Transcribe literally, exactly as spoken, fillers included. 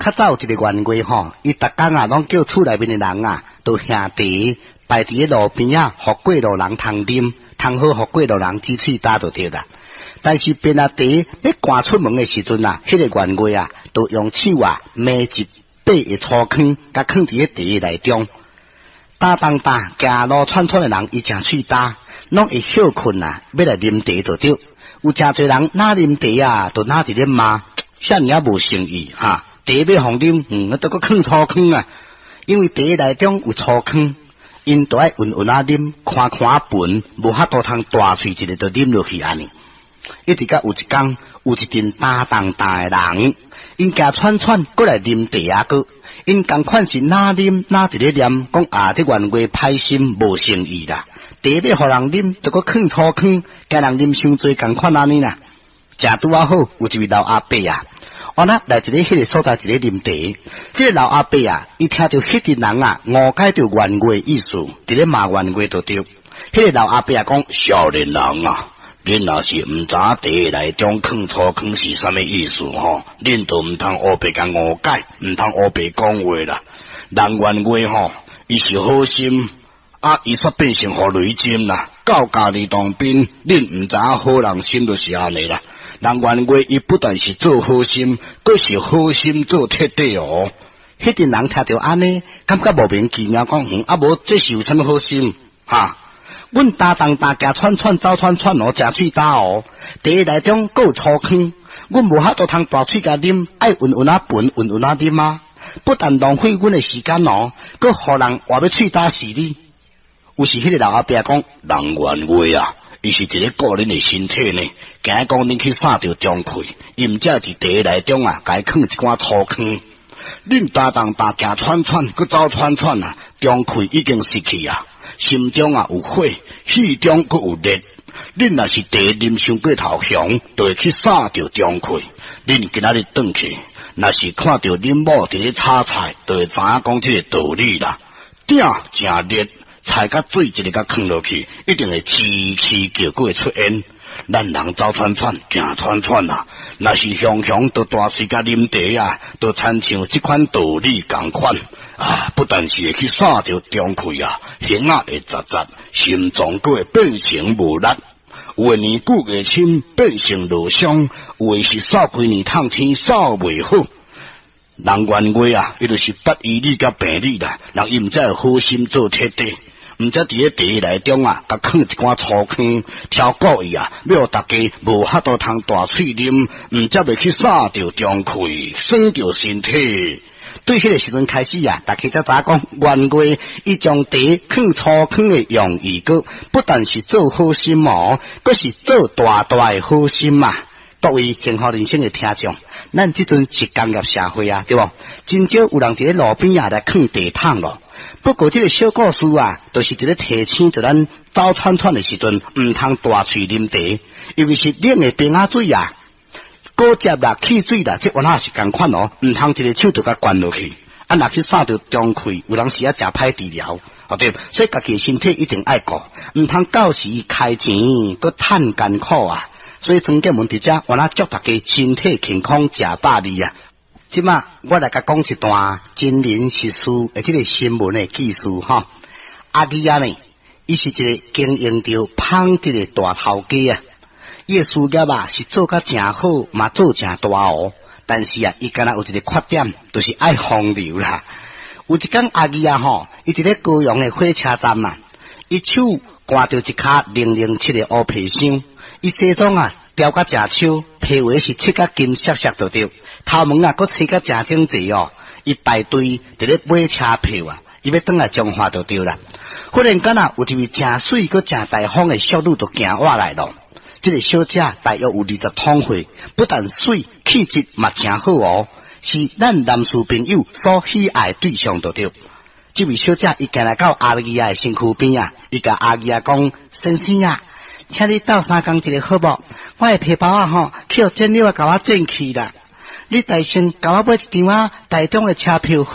較早有一个員外吼，伊逐工啊，攏叫厝內面的人啊，都兄茶擺佇咧路邊仔，予過路人通啉，通好予過路人止喙焦就對啦。但是便啊茶欲趕出門的時陣啊，彼個員外啊，就用手啊，糜一塊的粗糠，共囥佇咧茶內中。焦重焦，行路喘喘的人，伊誠喙焦，攏會歇睏啊，欲來啉茶就對。有誠濟人若啉茶啊，就若佇咧罵，啥爾仔無誠意哈！茶欲予啉，嗯，都閣囥粗糠啊！因為茶內中有粗糠，𪜶都愛勻勻仔啉，寬寬仔盤，無法度通大喙一个就啉落去按呢。一直到有一工，有一陣焦重焦的人，𪜶行喘喘過來啉茶仔閣，𪜶仝款是若啉若佇咧念，講啊，這員外歹心無誠意啦！茶欲予人啉，就閣囥粗糠，驚人啉傷濟仝款按呢啦。正拄仔好，有一位老阿伯啊，原來來佇咧彼个所在佇咧啉茶。這个老阿伯啊，伊聽著彼陣人啊誤解著員外意思，佇咧罵員外就對。彼个老阿伯啊講：少年人啊，恁若是毋知茶內中囥粗糠是啥物意思吼，恁就毋通烏白共誤解，毋通烏白講話啦。人員外吼，伊是好心。啊！伊煞變成予雷針啦，到家己當兵，恁毋知影好人心就是按呢啦。人員外伊不但是做好心，閣是好心做徹底哦。彼陣人聽著按呢，感覺莫名其妙，講嗯，啊無這是有啥物好心？哈？阮焦重焦行喘喘走喘喘哦，誠喙焦哦，茶內中閣有粗糠，阮無法度通大喙共啉，愛勻勻仔盤，勻勻仔啉啊！不但浪費阮的時間哦，閣予人活欲喙焦死你。有時彼个老阿伯講，人員外啊，伊是佇咧顧恁的身體呢，驚講恁去捎著中氣，伊毋才佇茶內中啊，共伊囥一寡粗糠。恁焦重焦行喘喘，閣走喘喘啊，中氣已經失去啊，心中啊有火，氣中閣有熱。恁若是茶啉傷過頭雄，就會去捎著中氣。恁今仔日轉去，若是看著恁某佇咧炒菜，就會知影講這个道理啦。鼎誠熱，菜佮水一个共囥落去，一定會吱吱叫，閣會出煙。咱人走喘喘，行喘喘啊，若是雄雄就大喙共啉茶啊，就親像這款道理仝款啊！不但是會去捎著中氣啊，耳仔會雜雜，心臟閣會變成無力。有的年久月深變成落傷，有的是掃幾年透天掃袂好。人員外啊，伊就是捌醫理佮病理啦，人伊毋才會好心做徹底。毋才佇咧茶內中啊，共囥一寡粗糠，超故意啊，欲予大家無法度通大喙啉，毋才袂去捎著中氣，損著身體。對彼个時陣開始啊，大家才知影講，員外伊將茶囥粗糠的用意，閣不但是做好心哦，閣是做大大的好心啊！各位幸福人生的聽眾，咱這陣是工業社會啊，對無？真少有人佇咧路邊仔來囥茶桶咯。不過這个小故事啊，就是佇咧提醒著咱走喘喘的時陣，毋通大喙啉茶，尤其是冷的冰仔水啊、果汁啦、汽水啦，這原來是仝款哦，毋通一个手就共灌落去，啊，若去捎著中氣，有當時啊誠歹治療，哦對，所以家己身體一定愛顧，毋通到時開錢閣趁艱苦啊。所以曾建文佇遮，原來祝大家身體健康，食百二啊！這馬我來共講一段真人實事的這个新聞的記事吼。阿弟仔呢，伊是一个經營著紡織的大頭家啊。伊的事業啊是做甲誠好，嘛做誠大哦。但是啊，伊敢若有一个缺點，就是愛風流啦。有一工阿弟仔吼，伊佇咧高雄的火車站啊，伊手掛著一跤零零七的烏皮箱。伊西裝啊，調甲誠超，皮鞋是漆甲金閃閃就對，頭毛啊，閣吹甲誠整齊哦。伊排隊佇咧買車票啊，伊欲轉來彰化就對啦。忽然間啊，有一位誠媠閣誠大方的淑女就行過來咯。這个小姐大約有二十通歲，不但媠，氣質嘛誠好哦，是咱男士朋友所喜愛對象就對。這位小姐伊行來到阿姨仔的身軀邊啊，伊共阿姨仔講：先生啊，請你鬥相共一下好無？我的皮包仔吼，去予剪刀仔共我剪去啦。你代先共我買一張仔台中的車票好？